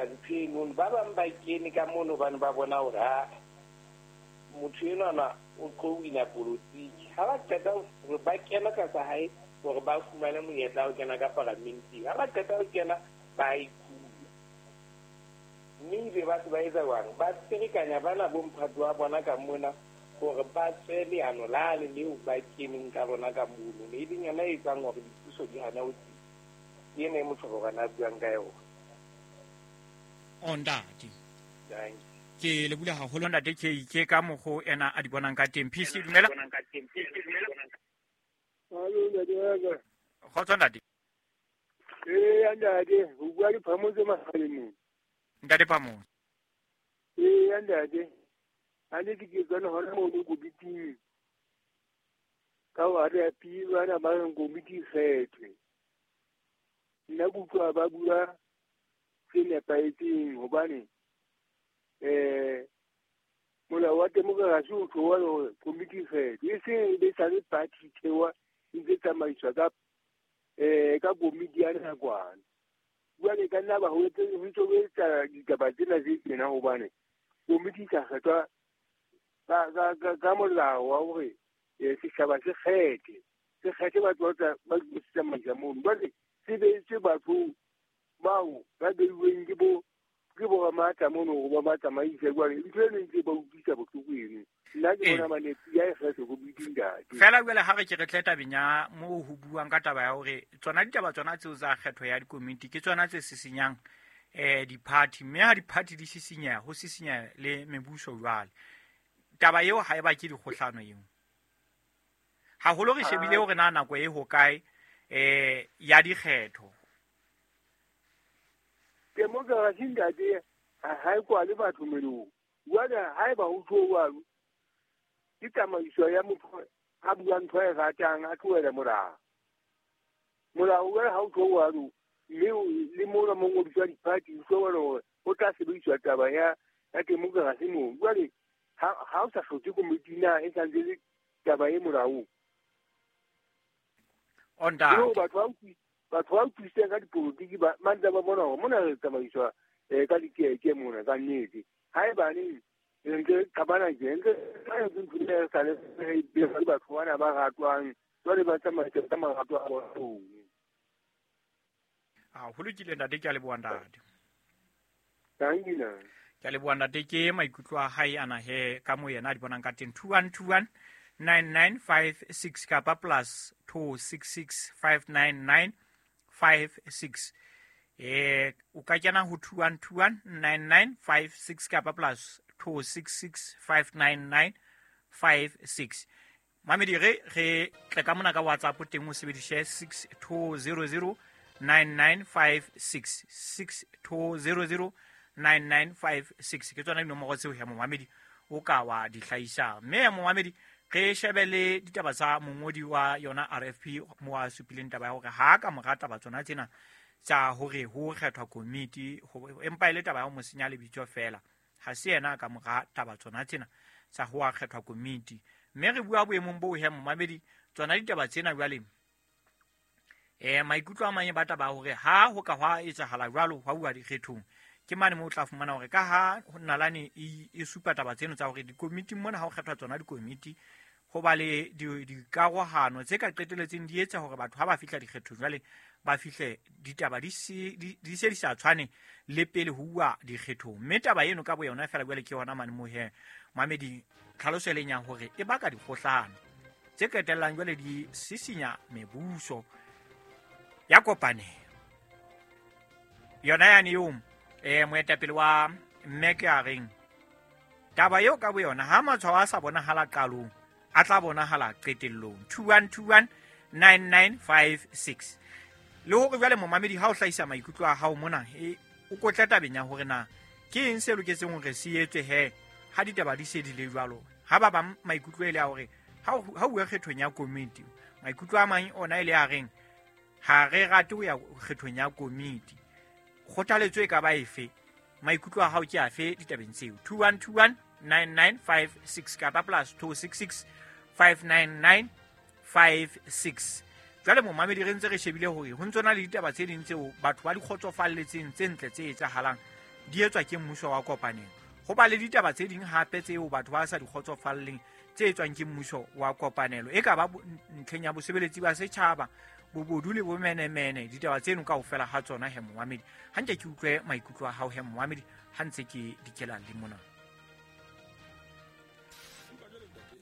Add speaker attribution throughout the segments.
Speaker 1: etsuwa ntho eno. Ba bang ba kene ka mono hobane ba bona hore ha motho enwana o tlo wina polotiki. Ha ba qeta hore ba kena tlasa hae hore ba fumane monyetla wa ho kena ka paramenteng. Ha ba qeta ho kena, ba ikula. Mme ebe ba se ba etsa jwang? Ba ferekanya bana bo mphato wa bona ka mona hore ba tswe leano lane leo ba keneng ka lona ka mono. E leng yona e etsang hore dipuso di hane ho tsitsa. Ke ena e Motlhorogwane a buang ka yona.
Speaker 2: O ntate.
Speaker 1: Dankie.
Speaker 2: Ke lebule haholo ntate KK ka mokgo ena a di bonang ka teng. PC dumela.
Speaker 3: Alo, ntate wa ka.
Speaker 2: Kgotso ntate.
Speaker 3: Ee, ntate, ho bua le Phamotse Mahalemong.
Speaker 2: Ntate Phamotse.
Speaker 3: Ee, ntate. Ha ne ke tswana hona mono komiting. Ka ho RFP bana ba reng komiti e kgethwe. Nna ke utlwa ba bua se nepahetseng hobane molao wa demokrasi o tloha hore komiti e kgethwe. E seng e be sale party thewa e ntse tsamaiswa ka ka komiti ya nakwana. Jwale ka nna ba ho ntse ho etsa ditaba tsena tse tjena hobane komiti e sa kgethwa ka molao wa hore setjhaba se kgethe batho ba tsamaisa mono. Jwale se beetswe batho bao ba beuweng ke bo ramatla mono hore ba tsamaise. Jwale ntho eno e ntse ba utlwisa bohloko eno. Nna ke bona manepi ya e kgetho komiti ntate.
Speaker 2: Fela jwale ha re ke re tle tabeng ya moo ho buang ka taba ya hore tsona ditaba tsona tseo tsa kgetho ya dikomiti ke tsona tse sisinyang di-party, mme ha di-party di sisinyeha ho sisinyeha le mebuso jwale. Taba eo ha e ba ke dikgohlano eo. Haholo re shebile hore na nako e hokae ya dikgetho.
Speaker 3: Demokrasi ntate ha e kwale batho melomo. Jwale haeba ho tjho jwalo, ke tsamaiso ya motho a buang ntho e ratang a tlohele molao. Molao jwale ha o tjho jwalo, mme le mona mo ngodiswa di-party ho tjho jwalo hore ho tla sebediswa taba ya demokrasi moo. Jwale ha o sa hloke komiti na e santse le taba e molaong. Batho ba utlwisisang ka dipolotiki ba ntse ba bona hore mona re tsamaiswa ka dikeke mona ka nnete. Haebane re ntse qabana tje, ntse re sa le batho bana ba ratwang, jwale ba tsamaisa ka marato a bona.
Speaker 2: Ho lokile ntate, ke a leboha ntate.
Speaker 3: Thank you.
Speaker 2: Ke a leboha ntate, ke maikutlo a hae ana he ka mo yena a di bonang ka teng. 2121 9956 kapa plus 266 599 56. O ka kena ho 2121 9956 kapa plus 266 599 56. Mamedi re tle ka mona ka WhatsApp teng o sebedise 6200 9956 6200 9956. Ke tsona dinomoro tseo ya momamedi o ka wa di hlahisang. Mme ya momamedi re shebe le ditaba tsa mongodi wa yona RFP mo a supileng taba ya hore ha ka mora taba tsona tsena tsa hore ho kgethwa komiti, empa e le taba ya ho mo senya lebitso fela. Ha se yena ka mora taba tsona tsena tsa ho kgethwa komiti. Mme re bua boemong bo he momamedi tsona ditaba tsena jwale. Maikutlo a mang ba taba hore ha ho ka hwa etsahala jwalo hwa bua dikgethong, ke mane mo o tla fumana hore ka ha nalane e supa taba tseno tsa hore dikomiti mona ha ho kgethwa tsona dikomiti ho ba le dikarohano tse ka qeteletseng di etsa hore batho ha ba fihla dikgethong jwale ba fihle ditaba di se di sa tshwane le pele ho uwa dikgethong. Mme taba eno ka boyona fela jwale ke yona mane mo he mamedi tlhaloso e leng ya hore e baka dikgohlano tse qetellang jwale di sisinya mebuso ya kopanelo. Yona yane eo moetapele wa mme ke a reng taba eo ka boyona ha matshwao a sa bonahala qalong a tla bonahala qetellong. 2121 9956. Le hore jwale momamedi ha o hlahisa maikutlo a hao mona o kotla tabeng ya hore na ke eng se loketseng hore se etswe he ha ditaba di se di le jwalo. Ha ba bang maikutlo e le a hore ha uwe kgethong ya komiti, maikutlo a mang ona e le a reng ha re rate ho ya kgethong ya komiti. Kgothaletso e ka ba efe? Maikutlo a hao ke afe ditabeng tseo? 2121 9956 kapa plus 266 599 56. Jwale momamedi re ntse re shebile hore ho ntse na le ditaba tse ding tseo batho ba di kgotsofalletseng tse ntle tse etsahalang di etswa ke mmuso wa kopanelo. Ho ba le ditaba tse ding hape tseo batho ba sa di kgotsofalleng tse etswang ke mmuso wa kopanelo, e ka ba ntlheng ya bosebeletsi ba setjhaba, bobodu le bomenemene, ditaba tseno kaofela ha tsona he momamedi. Hantle ke utlwe maikutlo a hao he momamedi ha ntse ke dikela le mona.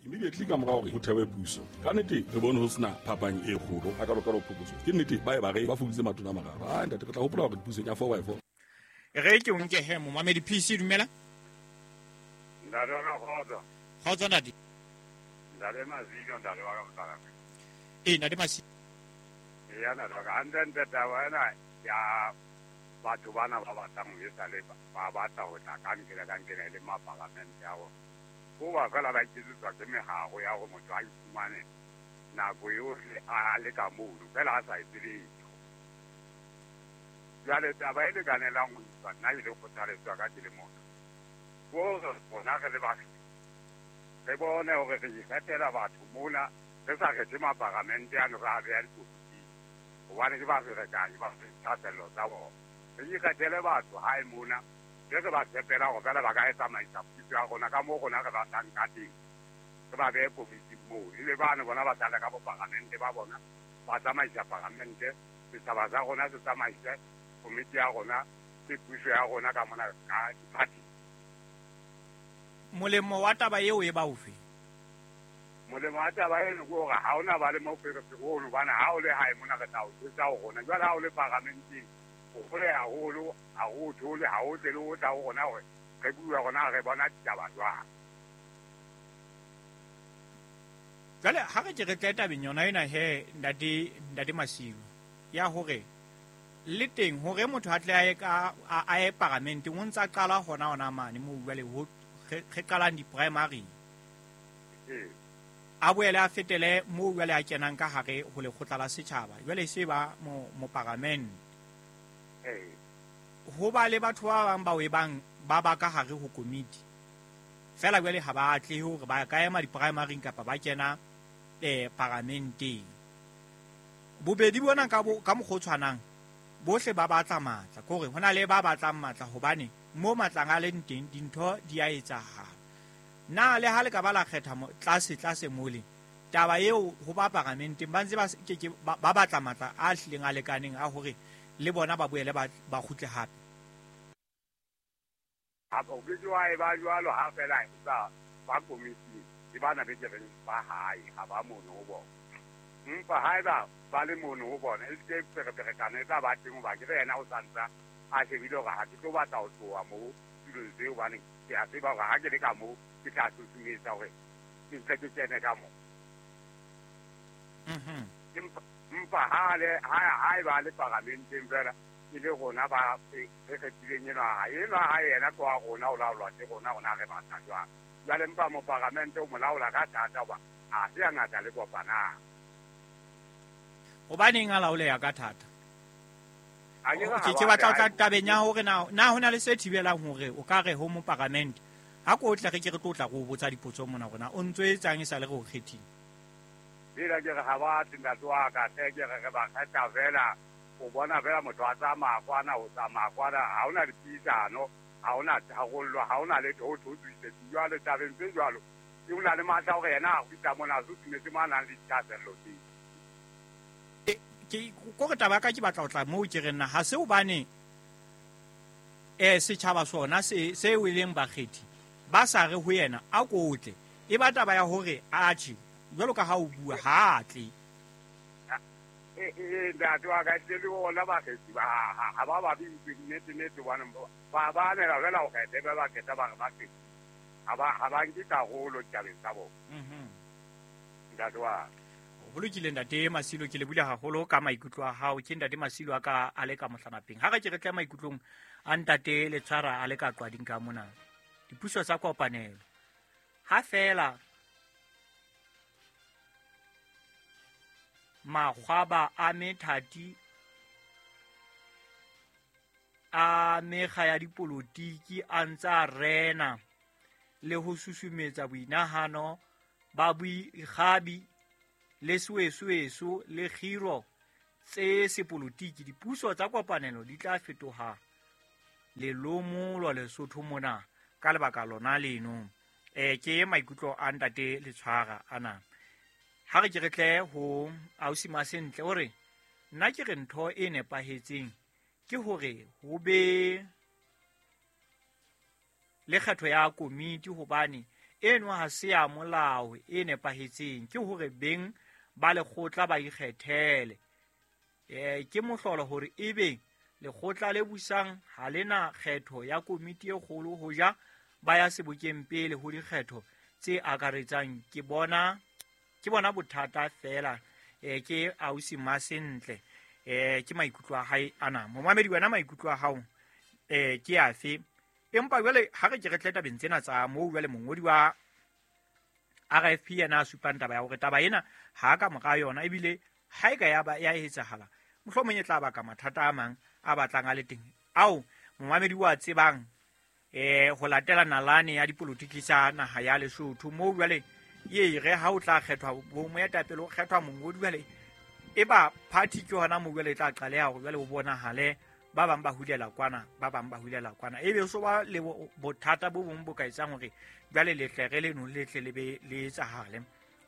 Speaker 4: Immediately ka mora hore ho thewe puso, ka nnete re bone ho sena phapang e kgolo a kalo phokotso. Ke nnete ba e ba re ba fokoditse matona a mararo. Ah ntate, re tla hopola hore pusong ya 4x4.
Speaker 2: Re ke o nke he momamedi. PC, dumela.
Speaker 5: Ntate wa ka, kgotso.
Speaker 2: Kgotso ntate.
Speaker 5: Ntate Masilo, ntate wa ka motlakase.
Speaker 2: Ee, ntate Masilo.
Speaker 5: Eya ntate wa ka, hantlentle taba ena ya batho bana ba batlang ho esale ba batla ho tla ka nkele ka nkele e le mapalamente a rona. Hoba fela ba iketsetswa ke meharo ya hore motho a iphumane nako yohle a le ka mono fela a sa etse letho. Jwale taba e lekanelang ho iswa nna e le kgothaletso ya ka ke le motho, ke hore rona re le batho re bone hore re ikgethela batho mona, re sa kgethe maparamente ano re a beha dikomiting, hobane ke ba ferekanyi ba dithahasello tsa bona. Re ikgethele batho hae mona, be re ba tshepela hore fela ba ka e tsamaisa puso ya rona ka moo rona re batlang ka teng, re ba behe komiting moo, ebe bano bona ba sale ka boparamente ba bona, ba tsamaisa paramente, setjhaba sa rona se tsamaise komiti ya rona le puso ya rona ka mona ka diphathi.
Speaker 2: Molemo wa taba eo e ba ofe?
Speaker 5: Molemo wa taba eno ke hore ha ona ba le moferefere ono, hobane ha o le hae mona re tla o jwetsa ho rona. Jwale ha o le paramenteng, o hole haholo, ha o thole, ha o tle le ho tla ho rona hore re bue rona re bona ditaba jwang.
Speaker 2: Jwale ha re ke re tle tabeng yona ena he ntate Masilo, ya hore le teng hore motho a tle a ye ka a ye paramenteng, o ntsa qala hona mane moo jwale ho re qalang di-primary. A boele a fetele moo jwale a kenang ka hare ho lekgotla la setjhaba, jwale se ba moparamente. Ho ba le batho ba bang bao e bang ba ba ka hare ho komiti fela jwale ha ba atlehe hore ba ka ema di-primaryng kapa ba kena paramenteng. Bobedi bona ka mokgwa o tshwanang, bohle ba batla matla, ke hore ho na le ba batlang matla hobane mo matlang a leng teng dintho di a etsahala. Na le ha le ka ba la kgetha tlase mole, taba eo ho ba paramenteng ba ntse ba ke ba batla matla a hlileng a lekaneng a hore le bona ba boele ba kgutle hape.
Speaker 5: Ha o ke wa e ba jwalo ha fela empa ba komiti ke bana be ke reng ba hae ha ba mono ho bona. Empa haeba ba le mono ho bona, e se fereferekano e tla ba teng hoba ke re yena o santsa a shebile hore ha ke tlo batla ho tloha moo tulong tseo, hobane ke a tseba hore ha ke le ka moo ke tla susumetsa hore ke ntse ke kene ka moo. Empa ha e ba le paramenteng fela e le rona ba re kgethileng enwa ha enwa ha yena ke wa rona, o laolwa ke rona, rona re batla jwang. Jwale empa moparamente o mo laola ka thata hoba ha se hangata le kopanang.
Speaker 2: Hobaneng a laoleha ka thata? Ke batla ho tla tabeng ya hore na ho na le se thibelang hore o ka re ho moparamente ha ko tle re ke re tlo tla go botsa dipotso mona rona o ntso etsang e sa le re o kgethile.
Speaker 5: Lela ke re ha ba tle ntate wa ka tle ke re re ba kgetha fela, o bona fela motho a tsamaya kwana, o tsamaya kwana, ha hona dipuisano, ha hona tharollo, ha hona letho ho thwe jwale tabeng tse jwalo. Ke o na le matla hore yena a kgutla mona a susumetse mo a nang le dithahasello teng.
Speaker 2: Ke kore taba ka ke batla ho tla moo ke re nna ha se hobane setjhaba sona se e leng bakgethi ba sa re ho yena a kotle, e ba taba ya hore atjhe jwalo ka ha o bua ha tle.
Speaker 5: Ntate wa ka le bona bakgethi ba ha ba ba bitse nnete nnete hobane ba ba anela fela ho kgetha ba ba kgetha ba re ba kgethe. Ha ba nke karolo ditabeng tsa bona. Ntate wa
Speaker 2: ho lokile ntate Masilo, ke le bula haholo ka maikutlo a hao. Ke ntate Masilo a ka a le ka mohlanapeng. Ha re ke re tle maikutlong a ntate Letshwara a le ka qwading ka mona. Dipuso tsa kopanelo ha fela makgwaba a methati a mekga ya dipolotiki a ntsa rena le ho susumetsa boinahano ba boikgabi le soesoeso le kgiro tse sepolotiki, dipuso tsa kopanelo di tla fetoha lelomolo Lesotho mona ka lebaka lona leno. Ke maikutlo a ntate Letshwara ana. Ha re ke re tle ho ausi Masentle o re nna ke re ntho e nepahetseng ke hore ho be le kgetho ya komiti, hobane eno ha se ya molao e nepahetseng, ke hore beng ba lekgotla ba ikgethele. Ke mohlolo hore ebe lekgotla le busang ha lena kgetho ya komiti e kgolo ho ja ba ya sebokeng pele ho dikgetho tse akaretsang. Ke bona bothata fela. Ke ausi Masentle. Ke maikutlo a hae ana. Momamedi wena maikutlo a hao ke afe? Empa jwale ha re ke re tle tabeng tsena tsa moo jwale mongodi wa RFP yena a supang taba ya hore taba ena ha ka mora yona, ebile ha e ka ya ba ya etsahala mohlomong e tla baka mathata a mang a batlang a le teng ao momamedi wa tsebang ho latela nalane ya dipolotiki tsa naha ya Lesotho. Moo jwale ye re ha o tla kgethwa bo moetapele o kgethwa mongodi, jwale e ba party ke hona moo jwale e tla qaleha hore jwale o bonahale ba bang ba hulela kwana, ba bang ba hulela kwana, ebe so ba le bothata bo bong bo ka etsang hore jwale letle re leno letle le be le etsahale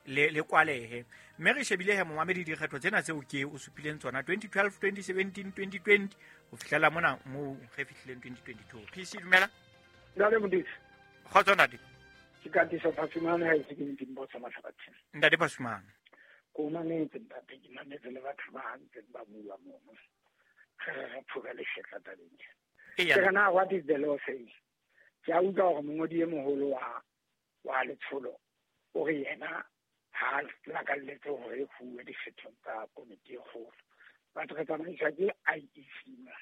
Speaker 2: le kwalehe. Mme re shebile he momamedi dikgetho tsena tseo ke o supileng tsona 2012, 2017, 2020 ho fihlela mona moo re fihlileng 2022. PC dumela.
Speaker 6: Ntate Modise.
Speaker 2: Kgotso ntate.
Speaker 6: Ke Katiso Phasumane ha ese ke ntimbo sa Mahlabatheng.
Speaker 2: Ntate Phasumane.
Speaker 6: Ko mametse ntate, ke mametse le batho ba ntseng ba bua mono. Re phuka leshetla tabeng. Ke re na what is the law saying? Ke a utlwa hore mongodi e moholo wa letsholo o re yena ha lakalletse hore e fuwe dikgethong tsa komiti e kgolo. But re tsamaiswa ke IEC mona.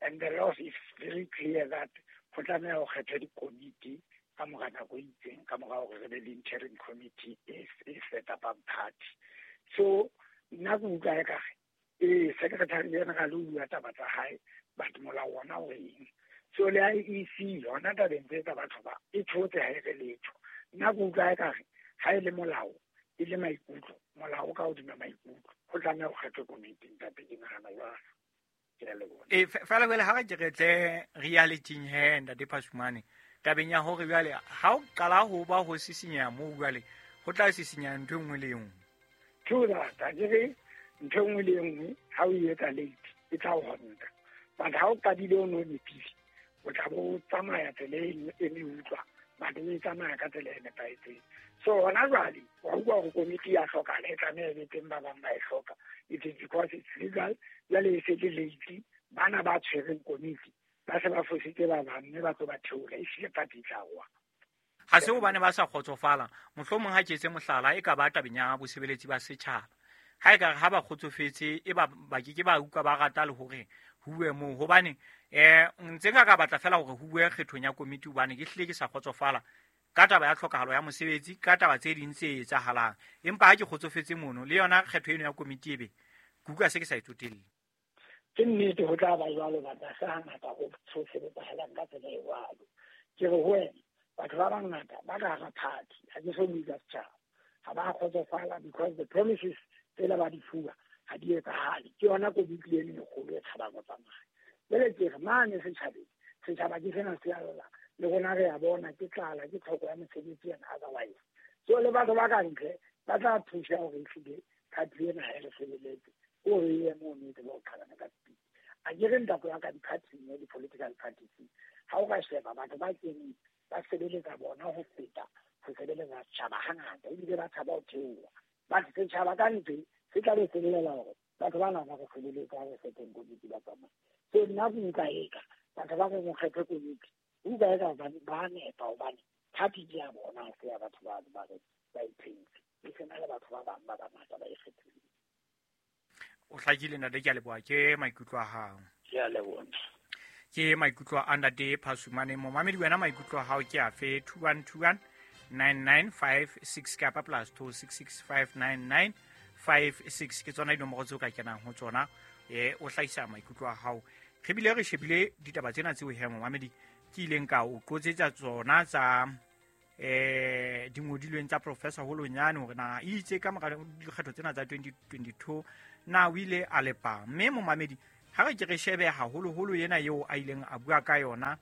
Speaker 6: And the law is very clear that ho tlameha ho kgethwe dikomiti ka mora nako e itseng, ka mora hore re be le interim committee e set up-ang party. So nna ke utlwa ekare secretary general o bua taba tsa hae, but molao ona o reng? So le IEC yona tabeng tse tsa batho ba e thotse ha e re letho. Nna ke utlwa ekare ha e le molao e le maikutlo, molao ka hodima maikutlo, ho tlameha ho kgethwe komiti ntate, ke nahana jwalo.
Speaker 2: Fela jwale ha re ke re tle reality he ntate Phasumane tabeng ya hore jwale ha o qala ho ba ho sisinyeha moo jwale ho tla sisinyeha ntho e nngwe le e nngwe.
Speaker 6: True that, a ke re ntho e nngwe le e nngwe ha o e etsa late e tla o honta, but ha o qadile o no nepile o tla bo tsamaya tsela e meutlwa, but o e tsamaya ka tsela e nepahetseng. So hona jwale wa utlwa hore komiti ya hlokahala, e tlameha e be teng, ba bang ba e hloka. It is because it's legal. Jwale e se le late, bana ba tshwereng komiti ba se ba fositse ba bang mme ba tlo ba theola, ehlile party e tla wa.
Speaker 2: Ha se hobane ba sa kgotsofala, mohlomong ha ke etse mohlala e ka ba tabeng ya bosebeletsi ba setjhaba. Ha e ka ha ba kgotsofetse e ba ba ke ba utlwa ba rata le hore ho bue moo, hobane ntse nka ka batla fela hore ho bue kgethong ya komiti, hobane ke hlile ke sa kgotsofala ka taba ya tlhokahalo ya mosebetsi, ka taba tse ding tse etsahalang. Empa ha ke kgotsofetse mono le yona kgetho eno ya komiti ebe ke utlwa se ke sa e tsotelle.
Speaker 6: Ke nnete ho tla ba jwalo, batho ha se hangata ho sebetsahalang ka tsela e jwalo. Ke re ho wena batho ba bangata ba ka hara party, ha ke so bue ka setjhaba, ha ba kgotsofala because the promises tsela ba di fuwa ha di etsahale. Ke yona komiti eno e kgolo e tshabang ho tsamaya. Jwale ke re mane setjhabeng, setjhaba ke sena se a lla, le rona re a bona ke tlala, ke tlhoko ya mosebetsi and otherwise. So le batho ba ka ntle ba tla thusa hore ehlile party ena ha e re sebeletse, o re ye mono e tsebe ho qhalana ka speed. A ke re ntate wa ka di-party-ing, di-political parties, ha o ka sheba batho ba keneng ba sebeletsa bona ho feta ho sebeletsa setjhaba hangata, ebile ba tshaba ho theoha. But setjhaba ka ntle se tla be se llela hore batho bana ba re sebeletsa, re kgetheng komiti ba tsamaya. So nna ke utlwa eka batho ba reng ho kgethwe komiti, utlwa eka ba nepa, hobane party ke ya bona, ha se ya batho ba ba re ba ithentse, e sena le batho ba bang ba bangata ba e kgethileng.
Speaker 2: O hlakile ntate, ke a leboha, ke maikutlo a hao.
Speaker 6: Ke a leboha.
Speaker 2: Ke maikutlo a ntate Phasumane. Momamedi wena maikutlo a hao ke afe? 2121 9956 kapa plus 26659956 ke tsona dinomoro tseo ka kenang ho tsona, o hlahisa maikutlo a hao. Re bile re shebile ditaba tsena tseo he momamedi ke ileng ka o qotsetsa tsona tsa dingodilweng tsa Professor Holonyane hore na itse ka mora dikgetho tsena tsa 2022 na o ile a lepa. Mme momamedi Ha re ke re shebe haholoholo ena eo a ileng a bua ka yona,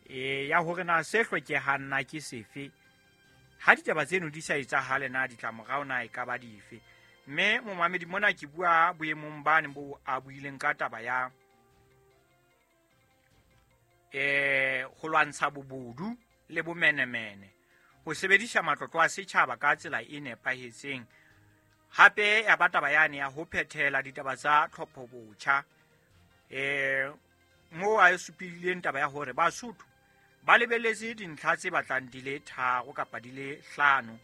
Speaker 2: ya hore na se hlokehang na ke sefe. Ha ditaba tseno di sa etsahale na ditlamorao na e ka ba dife. Mme momamedi mona ke bua boemong bane bo a buileng ka taba ya ho lwantsha bobodu le bomenemene, ho sebedisa matlotlo a setjhaba ka tsela e nepahetseng. Hape ya ba taba yane ya ho phethela ditaba tsa tlhopho botjha, moo a supileng taba ya hore Basotho ba lebeletse dintlha tse batlang di le 3 kapa di le 5,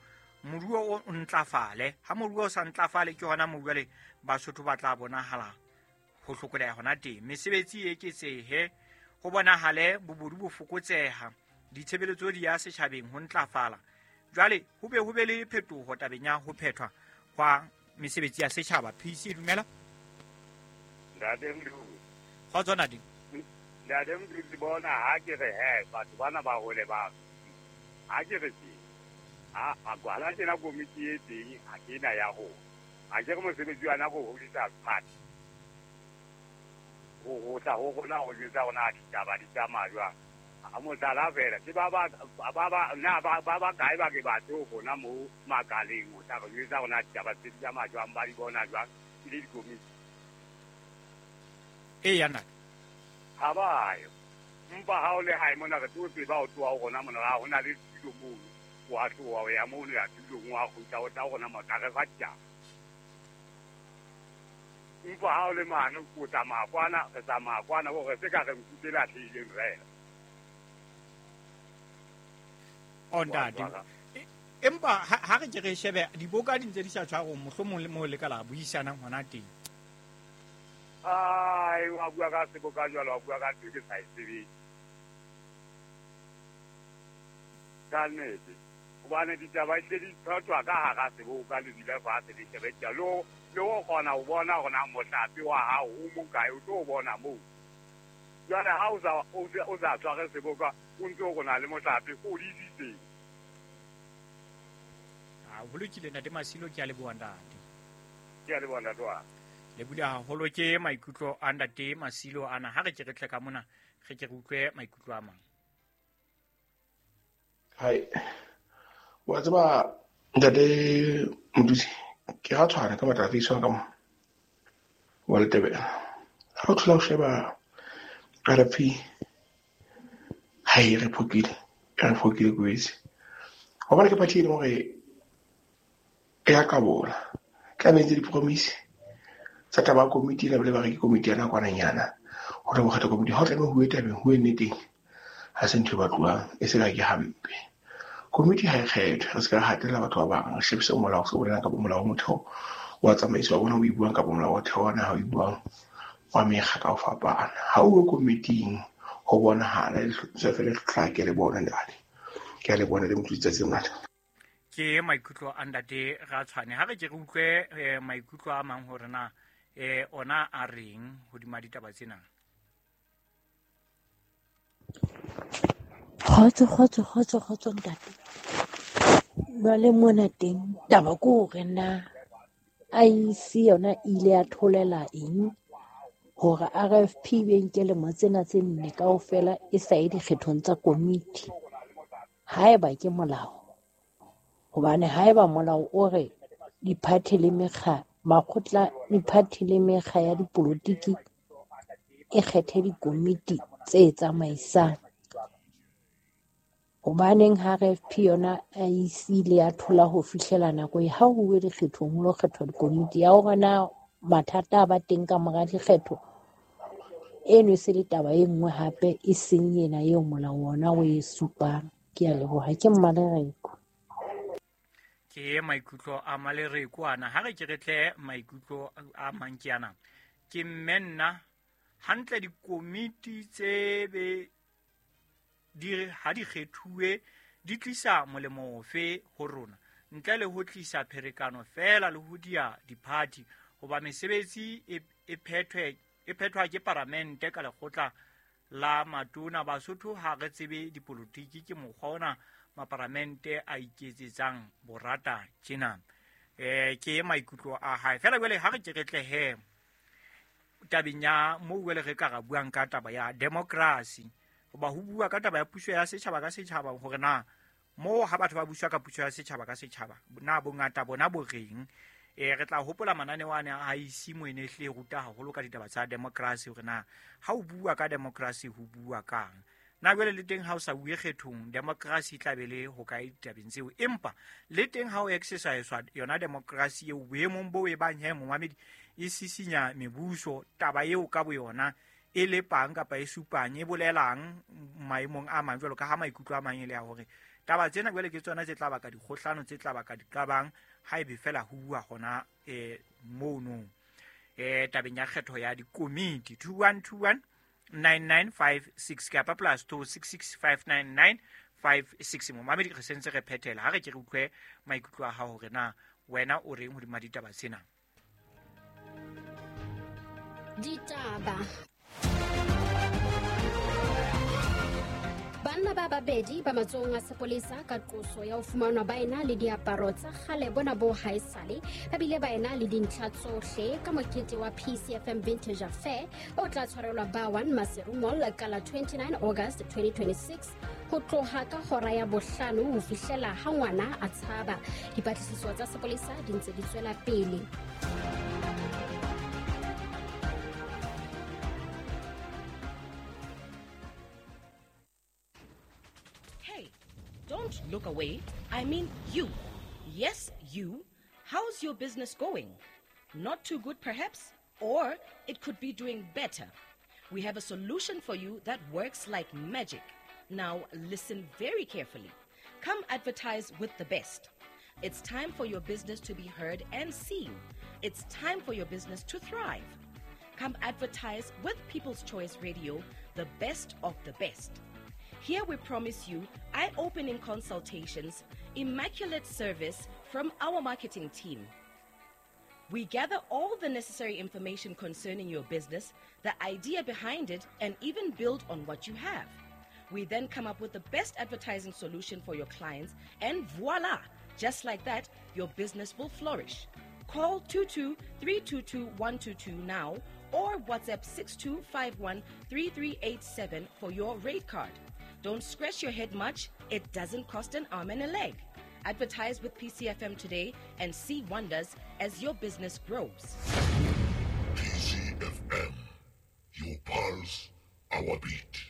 Speaker 2: moruo o ntlafale. Ha moruo o sa ntlafale ke hona moo jwale Basotho ba tla bonahala ho hlokoleha hona teng, mesebetsi e eketsehe, ho bonahale bobodu bo fokotseha, ditshebeletso di ya setjhabeng ho ntlafala. Jwale ho be le phetoho tabeng ya ho phethwa hwa mesebetsi ya setjhaba. PC dumela.
Speaker 5: Ntate Mdudu.
Speaker 2: Kgotso ntate.
Speaker 5: Ntate Mdudu, bona ha ke re he batho bana ba hole ba. Ha ke re ke. Ha a kwala tjena komiti e teng ha ke na ya ho. Ha ke re mosebetsi wa nako ho hodisa party. Ho tla ho rona ho jwetsa rona ditaba di tsamaya jwang. A mohlala fela ke ba ba kae ba ke batho rona mo makaleng ho tla re jwetsa rona ditaba tse di tsamaya jwang, ba di bona jwang ke le dikomiti.
Speaker 2: Eya nna.
Speaker 5: Ha ba yo. Mpa ha o le hae mona re tlo tseba ho tloha ho rona mona ha hona le tulo mono. Wa tloha o ya mono ya tulong wa kgutla o tla rona mo tla re fa ditaba. Mpa ha o le mane o tsamaya kwana, re tsamaya kwana hore se ka re nkutse lahlehileng fela.
Speaker 2: O ntate. Empa ha re ke re shebe diboka di ntse di sa tshwarong, mohlomong le moo le ka la buisanang hona teng.
Speaker 5: Ai, wa bua ka seboka jwalo, wa bua ka ntho ke sa e tsebeng. Ka nnete. Hobane ditaba di di tshwatswa ka hara seboka le dula fatshe le shebe tjalo. Le ho kgona ho bona hore na mohlape wa hao o mokae, o tlo bona moo. Jwale ha o sa tshware seboka, o ntse o rona le mohlape o di disitseng.
Speaker 2: Ha ho lokile ntate Masilo, ke a leboha ntate.
Speaker 5: Ke a leboha ntate wa.
Speaker 2: Le bula haholo ke maikutlo a ntate Masilo ana. Ha re ke re tle ka mona, re ke re utlwe maikutlo a mang.
Speaker 7: Hai. Wa tseba ntate Mdusi, ke ra tshwana ka matla a ka mo wa Letebele. Ha o thola ho sheba RFP, hai re phokile kwetse. Hobane ke party e leng hore e ya kabola. Tla be ntse di-promise tsa taba ya komiti ena, bile ba re ke komiti ya nakwananyana. Ho tla bo kgetha komiti. Ha o tlameha ho bue tabeng, ho bue nneteng, ha se ntho e batluwang, e se ka ke hampe. Komiti ha e kgethwe, re se ka hatella batho ba bang, re shebise molao se bolelang kapa molao wa motheo wa tsamaiso wa bona o e buang kapa molao wa motheo wa naha o e buang wa mekga ka ho fapana. Ha o uwe komiting ho bonahala se fele hlake le bona ntate. Ke a le bona le motho tsatsi ngata.
Speaker 2: Ke maikutlo a ntate Ratshwane. Ha re ke re utlwe maikutlo a mang hore na ona a reng hodima ditaba tsena.
Speaker 8: Kgotso kgotso kgotso kgotso ntate. Jwale mona teng taba ke hore na IEC yona e ile ya tholela eng hore RFP be nke lemo tsena tse 4 kaofela e sa ye dikgethong tsa komiti. Haeba ke molao, hobane haeba molao o re diphathi le mekga, makgotla, diphathi le mekga ya dipolotiki e kgethe dikomiti tse tsamaisang. Hobaneng ha RFP yona IEC ile ya thola ho fihlela nako e ha ho uwe dikgethong ho lo kgethwa dikomiti ya hore na mathata a ba teng ka mora dikgetho, eno e se le taba e nngwe hape e seng ena eo molao ona o e supang. Ke a leboha, ke Mmalereko.
Speaker 2: Ke maikutlo a Malereko ana. Ha re ke re tle maikutlo a mang ke ana. Ke mme nna hantle dikomiti tse be di ha di kgethuwe di tlisa molemo ofe ho rona ntle le ho tlisa pherekano fela le ho dia diphathi, hoba mesebetsi e phethwa ke paramente ka lekgotla la matona. Basotho ha re tsebe dipolotiki, ke mokgwa ona maparamente a iketsetsang borata tjena. Ke maikutlo a hae fela. Jwale ha re ke re tle he tabeng ya moo jwale re ka ra buang ka taba ya democracy, hoba ho bua ka taba ya puso ya setjhaba ka setjhaba, hore na moo ha batho ba buswa ka puso ya setjhaba ka setjhaba na bongata bona bo reng. Re tla hopola mananeo ane a IC mo ene hle ruta haholo ka ditaba tsa democracy, hore na ha o bua ka democracy ho bua kang. Na jwale le teng ha o sa bue kgethong, democracy e tla be le ho kae ditabeng tseo, empa le teng ha o exercise yona democracy eo boemong bo e bang he momamedi e sisinya mebuso, taba eo ka boyona e lepang kapa e supang e bolelang maemong a mang, jwalo ka ha maikutlo a mang e le ya hore taba tsena jwale ke tsona tse tla baka dikgohlano, tse tla baka diqabang ha ebe fela ho bua hona mono tabeng ya kgetho ya dikomiti. 2121 9956 kapa plus 26659956. Momamedi re sentse re phethela, ha re ke re utlwe maikutlo a hao hore na wena o reng hodima ditaba tsena.
Speaker 9: Ditaba. Banna ba babedi ba matsohong a sepolesa ka qoso ya ho fumanwa ba ena le diaparo tsa kgale bona bo haesale, ba bile ba ena le dintlha tsohle ka mokete wa PCFM Vintage Affair o tla tshwarelwa ba 1 Maseru Mall ka la 29 August 2026 ho tloha ka hora ya 5 ho fihlela ha ngwana a tshaba. Dipatlisiso tsa sepolesa di ntse di tswela pele.
Speaker 10: Don't look away. I mean you. Yes, you. How's your business going? Not too good, perhaps? Or it could be doing better. We have a solution for you that works like magic. Now, listen very carefully. Come advertise with the best. It's time for your business to be heard and seen. It's time for your business to thrive. Come advertise with People's Choice Radio, the best of the best. Here we promise you eye-opening consultations, immaculate service from our marketing team. We gather all the necessary information concerning your business, the idea behind it, and even build on what you have. We then come up with the best advertising solution for your clients, and voila! Just like that, your business will flourish. Call 22-322-122 now or WhatsApp 6251-3387 for your rate card. Don't scratch your head much. It doesn't cost an arm and a leg. Advertise with PCFM today and see wonders as your business grows.
Speaker 11: PCFM, your pulse, our beat.